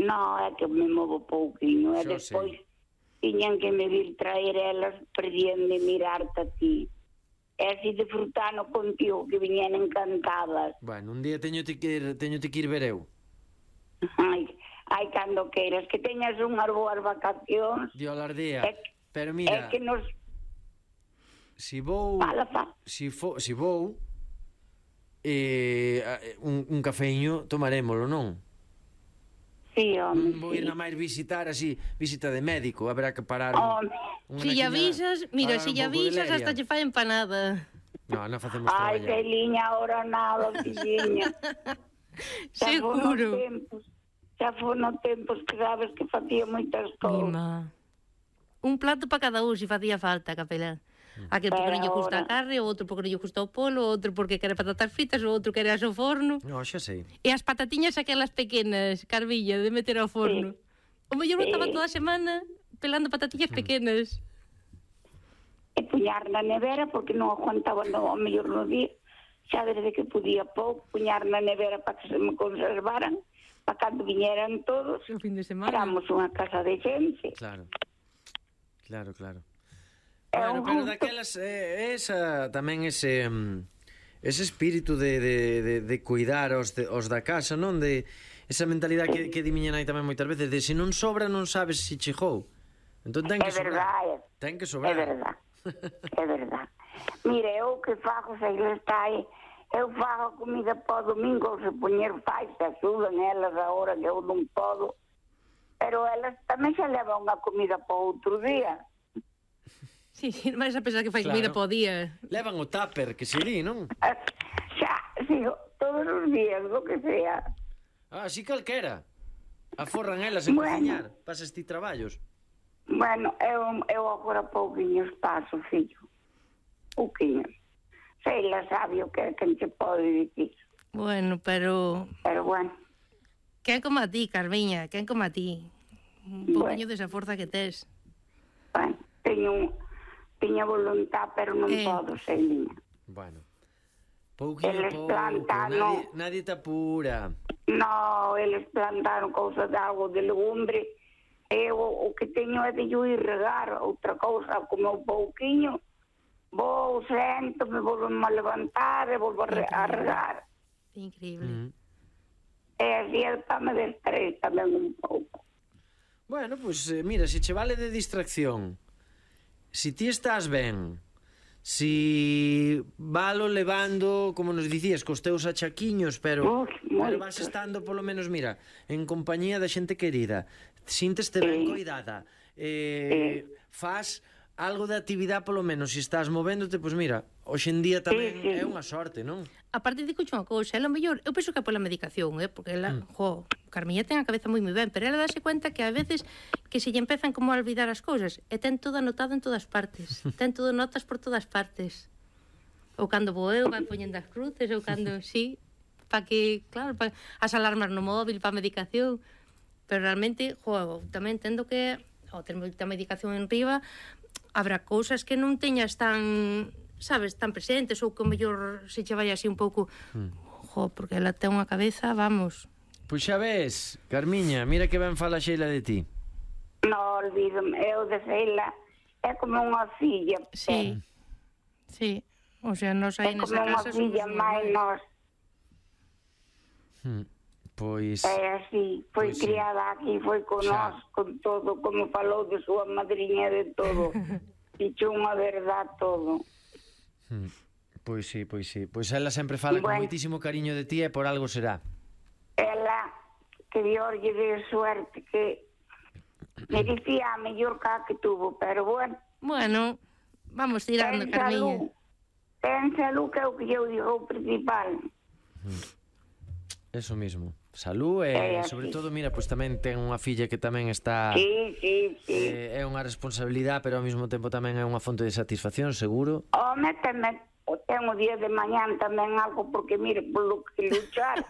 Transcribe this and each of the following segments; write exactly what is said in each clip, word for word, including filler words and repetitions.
No, é que me movo pouquinho. E Xo despois sei. tiñan que me vir traer elas, perdían de mirarte a ti. E así disfrutando contigo, que viñan encantadas. Bueno, un día teñote que ir, teñote que ir ver eu. Ai, ai, cando queiras, que teñas unhas boas vacacións. Dio alardea. É, Pero é mira, que nos... si vou... Fala, fa. Si, fo, si vou... Eh, un, un cafeíño tomarémolo, non? Sí, home, Non vou sí. ir na máis visitar así, visita de médico, haberá que parar Home. unha Si lle naquiña- avisas, mira, parar si un lle pouco de avisas leria. hasta che fai empanada. No, non facemos Ai, traballar. Celiña, ahora nada, filliña. Xa fono Seguro. tempos, xa fono tempos que sabes que facía moitas cousas. Mima. Un plato para cada un, se facía falta, capelán. Aquel porque Pero non lle gusta a ahora- carne, o outro porque non lle gusta o polo, o outro porque quere patatas fritas, o outro quere as ao forno. No, xa sei. E as patatiñas aquelas pequenas, Carvilla, de meter ao forno. O mellor Sí. estaba toda a semana pelando patatiñas pequenas. E puñar na nevera porque non aguantaba no, ao mellor no día. Xa desde que podía pouco, puñar na nevera para que se me conservaran, para cando viñeran todos. O fin de semana. Éramos unha casa de xente. Claro. Claro, claro. É Bueno, un pero gusto. daquelas eh, esa tamén ese mm, ese espírito de, de, de, de cuidar os, de, os da casa, non? De esa mentalidade que, que di miña nai tamén moitas veces, de se non sobra non sabes se chegou. Entón ten que É sobrar. verdade. Ten que É sobrar. verdade. É verdade. Mire, eu que fago, se ele está aí, eu fago comida para o domingo, se poñer faz, se axudan elas agora que eu non podo. Pero elas tamén xa levan unha comida para outro día. Sí, sí, vais a pensar que fai Claro. comida po día. Levan o tupper, que se di, non? Xa, sigo, todos os días, lo que sea. Ah, así calquera. Aforran elas en Bueno. cociñar, pasas ti traballos. Bueno, eu, eu agora pouquinhos paso, fillo. Pouquinhos. Sei, la sabe o que, que se pode dicir. Bueno, pero... Pero bueno, Quen como a ti, Carviña, quen como a ti. Un poquinho Bueno. desa forza que tes. bueno, teño un... Tiña voluntad, pero non Eh. podo, Celiña. Bueno. Pouquinho Eles pouco, plantan, nadie, non. nadie te apura. No, eles plantaron cousas de agua, de legumbre. Eu o que teño é de yo ir regar. Outra cousa, como un pouquiño, vou, sento, me volvo a levantar e volvo a, re, a regar. Increíble. Mm. E así é para me distraer tamén un pouco. Bueno, pois pues, eh, mira, se che vale de distracción, si ti estás ben, si valo levando, como nos dicías, cos teus achaquiños, pero, Uf, pero moitos. vas estando polo menos, mira, en compañía da xente querida, sinteste ben Sí. coidada, eh, faz algo de actividade polo menos, se estás movéndote, pois pues mira, hoxe en día tamén Sí, sí. é unha sorte, non? A parte de unha cousa, ela mellor, eu penso que é pola medicación, eh, porque ela, mm. jo, Carmiña ten a cabeza moi moi ben, pero ela dáse cuenta que a veces que se lle empezan como a olvidar as cousas, e ten todo anotado en todas partes, ten todo notas por todas partes. Ou cando vou eu, vai poñendo as cruces, ou cando, sí, para que, claro, pa, as alarmas no móvil, para a medicación, pero realmente, jo, tamén tendo que, ao ter moita medicación en riba, habrá cousas que non teñas tan, sabes, tan presentes, ou que o mellor se che vai así un pouco, mm. jo, porque ela ten unha cabeza, vamos. Pois xa ves, Carmiña, mira que ben fala Xeila de ti. No, olvídome, eu de Sheila é como unha filla. Sí, sí, o sea, nos É aí como nesa unha casa filla somos máis normais. nós. Hmm. Pois... É así, foi Pois sí. criada aquí, foi con Xa. nós, con todo, como falou de súa madriña de todo. Dicho unha verdad todo. Hmm. Pois sí, pois sí. Pois ela sempre fala con Bueno. moitísimo cariño de ti e por algo será. Ela, que Dios lle de suerte, que me dicía a mellor cá que tuvo, pero bueno, Bueno, vamos tirando, ten Carmiña. salud, ten salud que é o que eu digo o principal. Eso mismo. Salud e, É así. sobre todo, mira, pois tamén ten unha filla que tamén está... Sí, sí, sí. Eh, é unha responsabilidade, pero ao mesmo tempo tamén é unha fonte de satisfacción, seguro. Home, tamén, o ten o día de mañán tamén algo, porque mire, polo que luchar.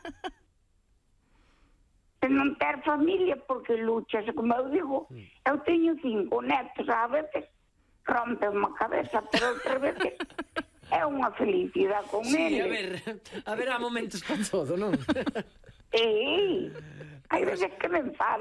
Se non ter familia, porque luchas, como eu digo, eu teño cinco netos, a veces rompe unha cabeza, pero outras veces é unha felicidade con Sí, eles. a ver, haberá momentos para todo, non? Sí, hai veces que me enfado.